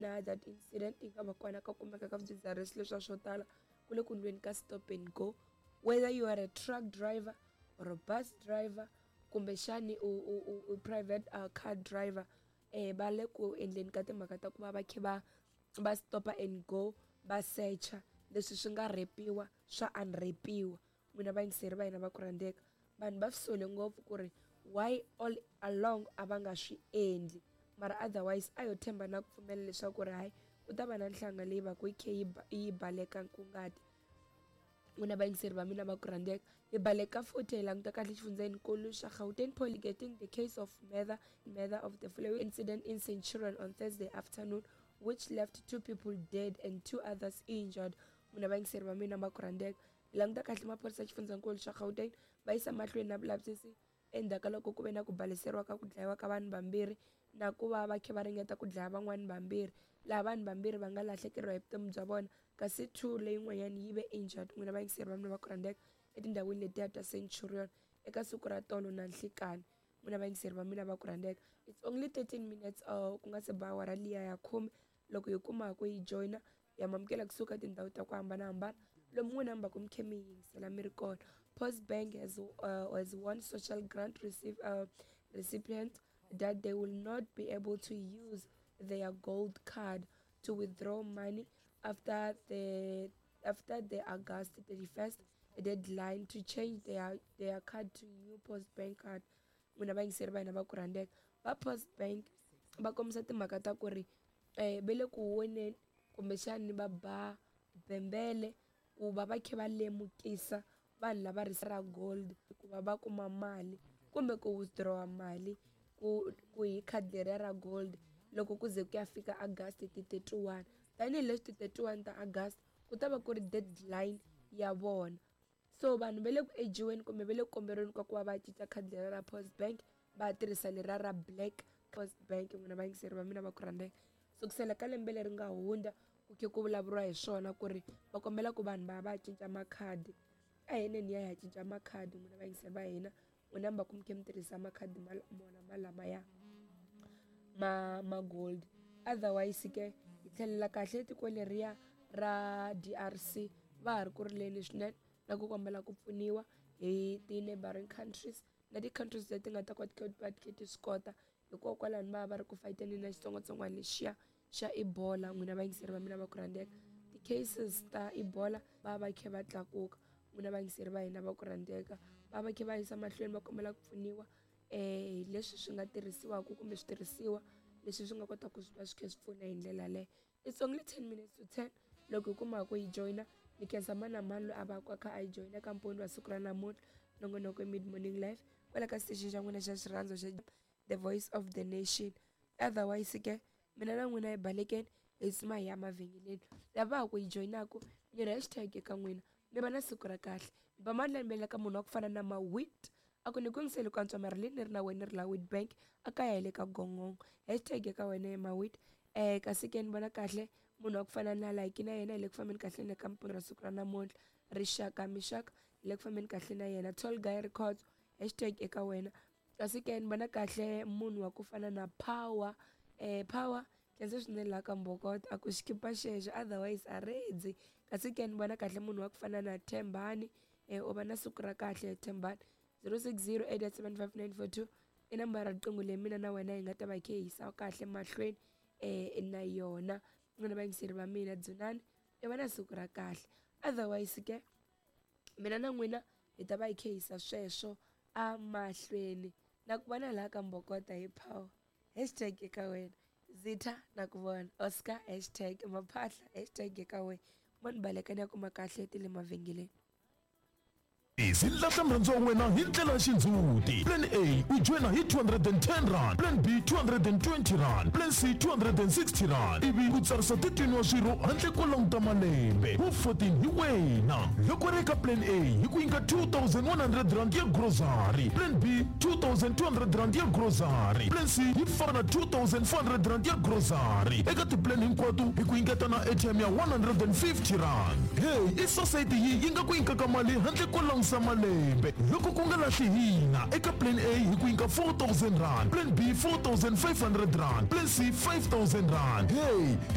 Na that incident yi nga va kona ka kumeka ka swidzidziharisi leswiya swo tala ku le ku ndliweni ka stop and go whether you are a truck driver or a bus driver kumbexani u u u u private car driver va le ku endleni ka timhaka ta ku va va kha va va stop and go va secha leswi swi nga rhepiwa swa unrhepiwa n'wina vayingiseri va hina va ku rhandzeka vanhu va swi sole ngopfu ku ri why all along a va nga swi endli mara otherwise a yo tshemba na ku pfumela leswaku ri hayi ku ta va na nhlanga leyi va ku yi khe yi baleka nkungati n'wina vayingiseri va mina va ku rhandzeka hi baleka futhi hi languta kahle xifundzenikulu xa Gauteng Poly getting the case of murder murder of the following incident in Centurion on Thursday afternoon which left two people dead and two others injured n'wina vayingiseri va mina va ku rhandzeka Hi languta kahle maphorisa ya xifundzankulu xa Gauteng va yisa mahlweni na vulavisisi endzhaku ka loko ku ve na ku baleseriwa ka ku dlayiwa ka vanhu vambirhi na ku va va khe va ringeta ku dlaya van'wani vambirhi laha vanhu vambirhi va nga lahlekeriwa hi vutomi bya vona kasi 2 leyin'wanyana yi ve injured n'wina vayingiseri va mina va ku rhandzeka etindhawini letiya ta Centurion eka siku ra tolo na nhlikani n'wina vayingiseri va mina va ku rhandzeka it's only 13 minutes ku nga se ba awara liya ya khume loko hi kuma ku yi joyina ya mamukela kusuka tindhawu ta ku hambanahambana lomu n'wina mi va ku mi khe mi yingisela mi ri kona post bank has won social grant receive, recipient that they will not be able to use their gold card to withdraw money after the August 31st deadline to change their card to new post bank card. N'wina vayingiseri va hina va ku rhandzeka va post bank va kombisa timhaka ta ku ri va le ku voneni kumbexani va ba bembele ku va va kha va lemukisa vanhu lava ri ra gold ku va va kuma mali kumbe ku withdraw mali ku hi khadi leriya ra gold loko ku ze ku ya fika August ti 31 tanihileswi ti 31 ta August ku ta va ku ri deadline ya vona so vanhu va le ku ejiweni kumbe va le ku komberiweni ka ku va va cinca khadi leriya ra post bank va tirhisa leriya ra black post bank n'wina vayingiseri va mina va ku rhandzeka sukusela ka lembe leri nga hundza ku khe ku vulavuriwa hi swona ku ri va kombela ku vanhu va va cinca makhadi a hi neni ya hi ya cinca makhadi n'wina vayingiseri va hina n'wina mi va ku mi khe mi tirhisa makhadi mona malamaya ma gold otherwise ke hi tlhelela kahle tiko leriya ra DRC va ha ri ku rileni swinene na ku kombela ku pfuniwa hi ti-neighboring countries na ti-countries leti nga ta kota ku va ti kha ti swi kota hikokwalaho va va ri ku fayiteneni na xitsongwatsongwana lexiya xa Ebola n'wina vayingiseri va mina va ku rhandzeka ti-cases ta Ebola va va kha va tlakuka n'wina vayingiseri va hina va ku rhandzeka va va kha va yisa mahlweni va kombela ku pfuniwa hi leswi swi nga tirhisiwaka kumbe switirhisiwa leswi swi nga kotaka ku va swi kha swi pfuna hi ndlela yaleyo it's only 10 minutes to 10 loko hi kuma ku yi joyina ni khensa mani na mani loyi a va ku a kha a yi joyina ka mponi wa siku ra namuntlha nongonoko mid morning live kwala ka station xa n'wina xa xirhandzo xa the voice of the nation otherwise ke mina na n'wina hi balekeni hi tshuma hi ya mavhengeleni lava ha ku yi joyinaku ni ri hashtag eka n'wina mi va na siku ra kahle mi ba mandla ni ka munhu wa ku fana na mawit a ku ni ku yingiseli ku antswa mara leyi ni ri na wena ni ri la Witbank a kaya hi le ka gongongo hashtag eka wena mawit kasi ke ni vona kahle munhu wa ku fana na like na yena hi le ku fambeni kahle na ka mponi ra siku ra namuntlha rixaka mixaka hi le ku fambeni kahle na yena tall guy records hashtag eka wena kasi ke ni vona kahle munhu wa ku fana na power power khensa swinene laha ka mbokota a ku xikipa xexo otherwise a redzi kasi ke ni vona kahle munhu wa ku fana na Thembani u va na siku ra kahle Thembani 060 875 i nambara riqingho leyi mina na wena hi nga ta va hi khe hi yisa kahle mahlweni na yona n'wina vayingiseri va mina dzunani i va na siku ra kahle otherwise ke mina na n'wina hi ta va hi khe yisa sweswo amahlweni na ku vona laha ka mbokota hi power hashtag eka wena zitha na ku vona oscar hashtag maphahla hashtag eka wena mo ni baleka ni ya kuma kahle ti le mavhengeleni. Ndzi lahla murhandziwa wa wena hi ndlela ya xindzhuti. Plan A u joyina hi 210 rand, Plan B 220 rand, Plan C 260 rand ivi u tsarisa 13 wa swirho handle ko languta malembe. Wu 14 hi wena. Loko ri eka Plan A hi ku nyika 2100 rand ya grocery, Plan B 2200 rand ya grocery, Plan C yi fana na 2400 rand ya grocery. Eka ti-plan hinkwato hi ku nyiketa na airtime ya 150 rand. Hey, i society yi yi nga ku nyikaka mali handle ko langusa. hundzisa malembe loko ku nga lahli hina eka plan A hi ku nyika 4000 rand, plan B 4500 rand, plan C 5000 rand. Hey.